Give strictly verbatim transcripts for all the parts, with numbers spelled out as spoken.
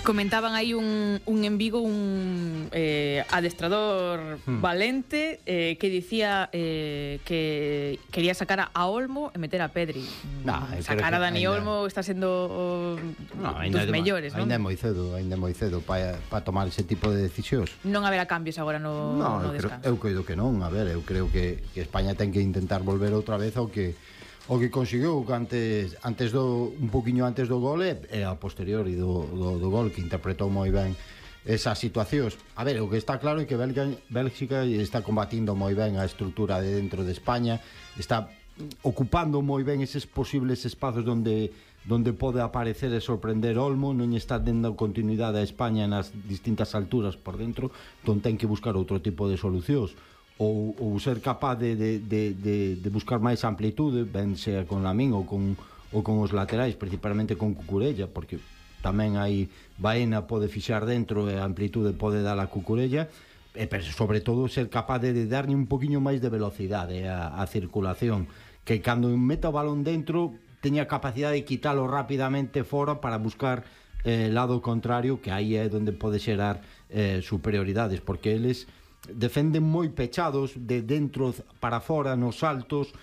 Comentaban aí un, un en Vigo, un eh, adestrador hmm. valente eh, que dicía eh, que quería sacar a Olmo e meter a Pedri. No, sacar a Dani ainda... Olmo está sendo no, dos mellores, non? Ainda é moi cedo, ainda é moi cedo para pa tomar ese tipo de decisións. Non haberá cambios agora no, no, no eu descanso. Creo, eu creo que non, a ver, eu creo que, que España ten que intentar volver outra vez ao que o que conseguiu antes antes do un poquiño antes do gol e, e a posteriori do, do, do gol, que interpretou moi ben esas situacións. A ver, o que está claro é que Bélgica, Bélgica está combatindo moi ben a estrutura de dentro de España, está ocupando moi ben eses posibles espazos onde donde pode aparecer e sorprender Olmo, non está dando continuidade a España nas distintas alturas por dentro, entón ten que buscar outro tipo de solucións. Ou, ou ser capaz de, de, de, de, de buscar máis amplitude, ben sea con Lamín ou con, ou con os laterais, principalmente con Cucurella, porque tamén hai Baena pode fixar dentro e a amplitude pode dar a Cucurella, e pero sobre todo ser capaz de, de darlle un poquinho máis de velocidade a, a circulación, que cando meta o balón dentro teña capacidade de quitalo rapidamente fora para buscar eh, lado contrario, que aí é onde pode xerar eh, superioridades, porque eles defenden moi pechados de dentro para fora nos saltos,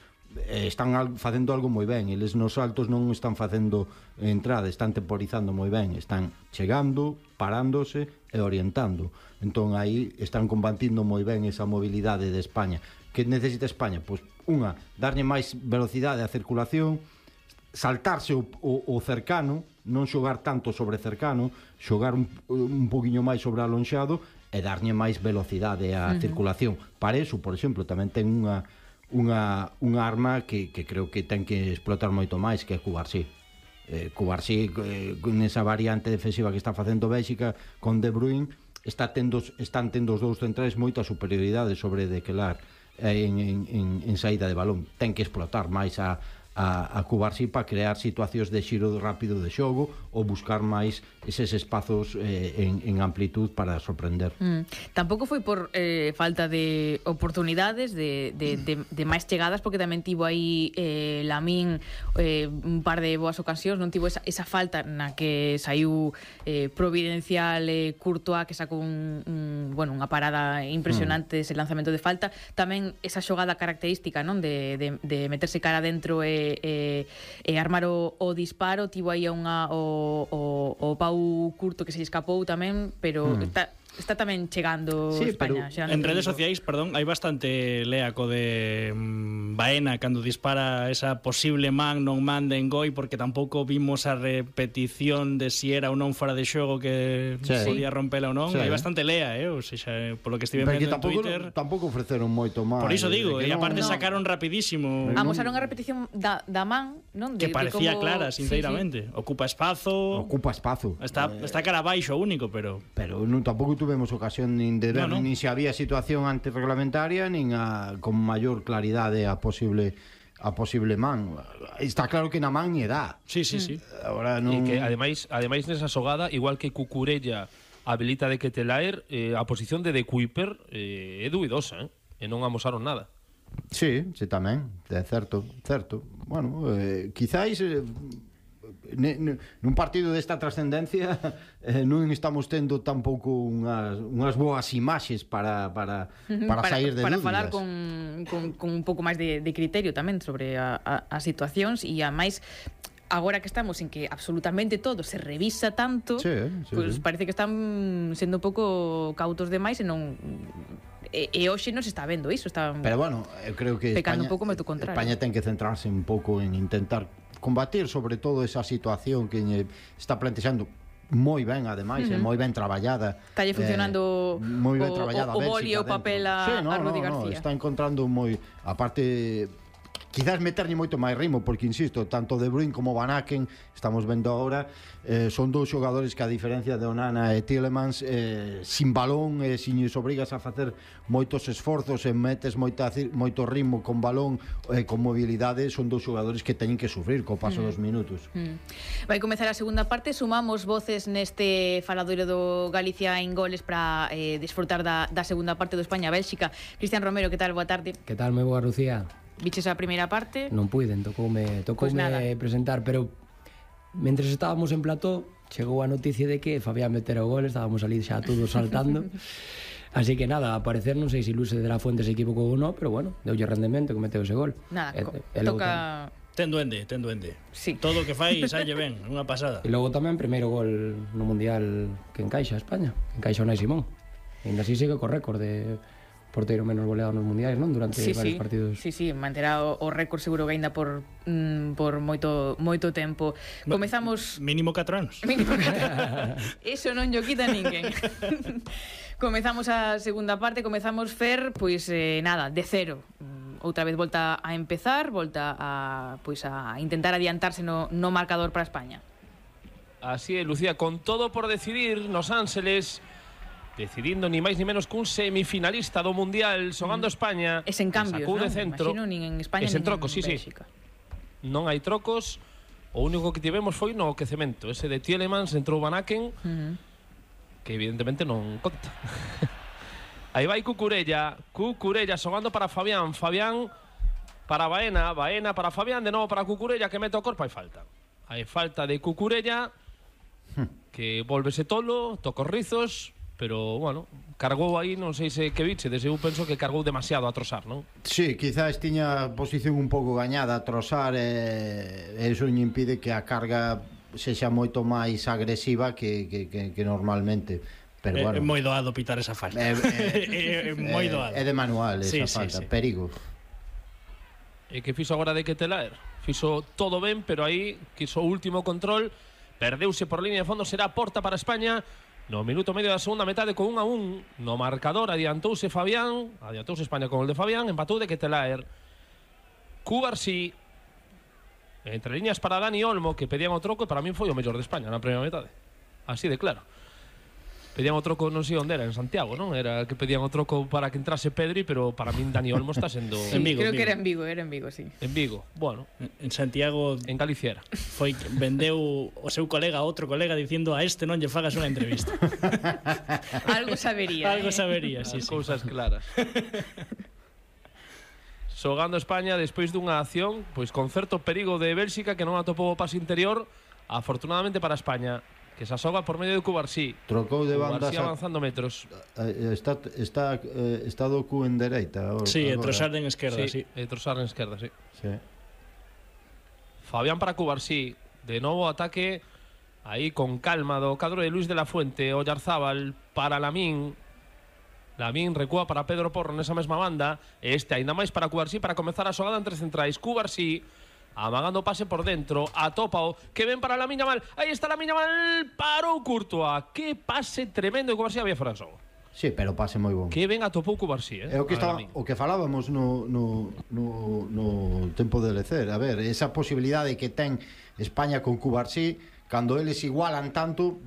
eh, están al, facendo algo moi ben. Eles nos saltos non están facendo entrada, están temporizando moi ben, están chegando, parándose e orientando. Entón aí están combatindo moi ben esa mobilidade de España. Que necesita España? Pois unha, darlle máis velocidade á circulación, saltarse o, o, o cercano, non xogar tanto sobre cercano, xogar un, un poquinho máis sobre alonxado e darlle máis velocidade á uh-huh. circulación. Para eso, por exemplo, tamén ten unha unha, unha arma que, que creo que ten que explotar moito máis, que é Cubarsí. Eh, Cubarsí, eh, nesa variante defensiva que está facendo Bélxica con De Bruyne, está tendo, están tendo os dous centrais moita superioridade sobre Dequelar eh, en, en, en, en saída de balón. Ten que explotar máis a a, a Cubarsí para crear situacións de xiro rápido de xogo ou buscar máis eses espazos eh, en, en amplitud para sorprender. Mm. Tampouco foi por eh, falta de oportunidades, de, de, de, de máis chegadas, porque tamén tivo aí eh, Lamín eh, un par de boas ocasións, non tivo esa, esa falta na que saiu eh, providencial eh, Courtois, que sacou un, un, bueno, unha parada impresionante mm. ese lanzamento de falta, tamén esa xogada característica, non, de, de, de meterse cara dentro e E, e armar o, o disparo. Tivo aí unha o, o, o Pau Curto que se escapou tamén, pero mm. está, está tamén chegando sí, España. En redes sociais, perdón, hai bastante leaco de um, Baena cando dispara esa posible man, non man de Engoi, porque tampouco vimos a repetición de si era ou non fora de xogo que sí. podía rompela ou non. Sí. Hai bastante lea, eh? Ou seja, polo que estive vendo en tampouco, Twitter. Tampouco ofreceron moito máis. Por iso digo, e aparte no. sacaron rapidísimo. Amosaron a repetición da, da man, non? De, que parecía como... clara, sinceramente. Sí, sí. Ocupa espazo. Ocupa espazo. Está, eh... está cara abaixo único, pero... Pero non, tampouco tuvemos ocasión nin de ver, no, no. nin se había situación antirreglamentaria, nin a, con maior claridade a posible a posible man. Está claro que na man lle dá. Sí, sí, sí. Ahora non... E que ademais, ademais nesa xogada, igual que Cucurella habilita de Ketelaer, eh, a posición de De Kuiper eh, é duidosa, eh? E non amosaron nada. Sí, sí, tamén, é certo, certo. Bueno, eh, quizáis eh, nun partido desta trascendencia eh, non estamos tendo tampouco unhas, unhas boas imaxes para, para, para, para sair de para dúbidas. Para falar con, con, con un pouco máis de, de criterio tamén sobre a, a, as situacións, e a máis agora que estamos en que absolutamente todo se revisa tanto, sí, sí, pues sí. parece que están sendo un pouco cautos demais e non... E, e hoxe non se está vendo iso, está pero bueno, eu creo que pecando España, un pouco meto contrario. España ten que centrarse un pouco en intentar combatir sobre todo esa situación que está plantexando moi ben, ademais, uh -huh. é moi ben traballada. Está funcionando eh, moi ben traballada o, o, o boli o papel a, sí, no, a Rudi no, García. No, está encontrando moi, aparte quizás meterlle moito máis ritmo, porque insisto, tanto De Bruyne como Van Aken, estamos vendo agora, eh, son dous xogadores que a diferencia de Onana e Tielemans, eh, sin balón e eh, sin os obrigas a facer moitos esforzos e metes moita, moito ritmo con balón e eh, con mobilidade, son dous xogadores que teñen que sufrir co paso mm. dos minutos. Mm. Vai comezar a segunda parte, sumamos voces neste faladoiro do Galicia en goles para eh, disfrutar da, da segunda parte do España-Bélxica. Cristian Romero, que tal? Boa tarde. Que tal? Moi boa, Lucía. Viches a primeira parte? Non puiden, tocoume, tocoume pues presentar, pero mentres estábamos en plató chegou a noticia de que Fabián metera o gol, estábamos ali xa todos saltando. Así que nada, a parecer non sei se Luis de la Fuente se equivocou ou non, pero bueno, deulle rendemento que meteu ese gol. Nada, e, e toca... Ten duende, ten duende. Sí. Todo o que fai salle ben, unha pasada. E logo tamén primeiro gol no Mundial que encaixa a España, que encaixa o Nai Simón. E ainda así sigue co récord de porteiro menos goleado nos mundiais, non? Durante sí, varios sí. partidos. Sí, sí, manterá o, o récord seguro que ainda por mm, por moito moito tempo. Comezamos mínimo catro anos. Mínimo catro. Eso non llo quita ninguén. Comezamos a segunda parte, comezamos Fer, pois eh, nada, de cero. Outra vez volta a empezar, volta a pois a intentar adiantarse no, no marcador para España. Así é, Lucía, con todo por decidir nos Ángeles, decidindo ni máis ni menos cun semifinalista do Mundial, xogando mm. España. Es en cambios, non? De centro. Imagino, nin en España nin en trocos, sí, Bélxica. Sí. Non hai trocos. O único que tivemos foi no aquecemento. Ese de Tielemans, entrou Van Aken, uh -huh. que evidentemente non conta. Aí vai Cucurella. Cucurella xogando para Fabián. Fabián para Baena. Baena para Fabián. De novo para Cucurella, que mete o corpo. Hai falta. Hai falta de Cucurella, que volvese tolo, toca os rizos, pero, bueno, cargou aí, non sei se que biche, desde eu penso que cargou demasiado a Trossard, non? Sí, quizás tiña posición un pouco gañada a Trossard, e eso non impide que a carga sexa moito máis agresiva que, que, que, que normalmente. Pero, é, bueno, é moi doado pitar esa falta. É, é, é é, moi doado. É de manual esa sí, falta, sí, sí. perigo. E que fixo agora de Ketelaer? Fixo todo ben, pero aí quiso o último control, perdeuse por línea de fondo, será porta para España. No minuto medio da segunda metade con un a un no marcador, adiantouse Fabián, adiantouse España con el de Fabián, empatou de Ketelaer. Cubarsí, entre líneas para Dani Olmo, que pedían o troco, e para min foi o mellor de España na primeira metade. Así de claro. Pedían o troco, non sei onde era, en Santiago, non? Era que pedían o troco para que entrase Pedri, pero para min Dani Olmo está sendo... Sí, en Vigo, creo en Vigo. que era en Vigo, era en Vigo, sí. En Vigo, bueno. En Santiago... En Galicia era. Foi vendeu o seu colega a outro colega dicindo a este non lle fagas unha entrevista. Algo sabería. Algo eh? sabería, sí, sí. Cousas claras. Xogando España despois dunha acción, pois con certo perigo de Bélxica, que non atopou o pase interior, afortunadamente para España, que se asoga por medio de Cubarsí. Trocou de banda, Cubarsí avanzando metros. Está está eh, está do cu en dereita. Sí, e Trossard en esquerda, sí. Sí, e Trossard en esquerda, sí. Sí. Fabián para Cubarsí, de novo ataque aí con calma do cadro de Luis de la Fuente. Oyarzábal para Lamín. Lamín recúa para Pedro Porro nesa mesma banda. E este ainda máis para Cubarsí para comezar a xogada entre centrais. Cubarsí amagando pase por dentro, atópao, que ven para Lamine Yamal, aí está Lamine Yamal, parou Courtois, que pase tremendo, e Cubarsí había fora xogo. Sí, pero pase moi bon. Que ben atopou Cubarsí, eh? É o que estaba, o que falábamos no, no, no, no tempo de lecer. A ver, esa posibilidade que ten España con Cubarsí, cando eles igualan tanto,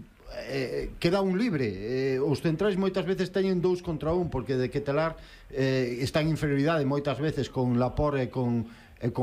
eh, queda un libre. Eh, os centrais moitas veces teñen dous contra un, porque de Ketelaer eh, está en inferioridade moitas veces con Laporte e con e con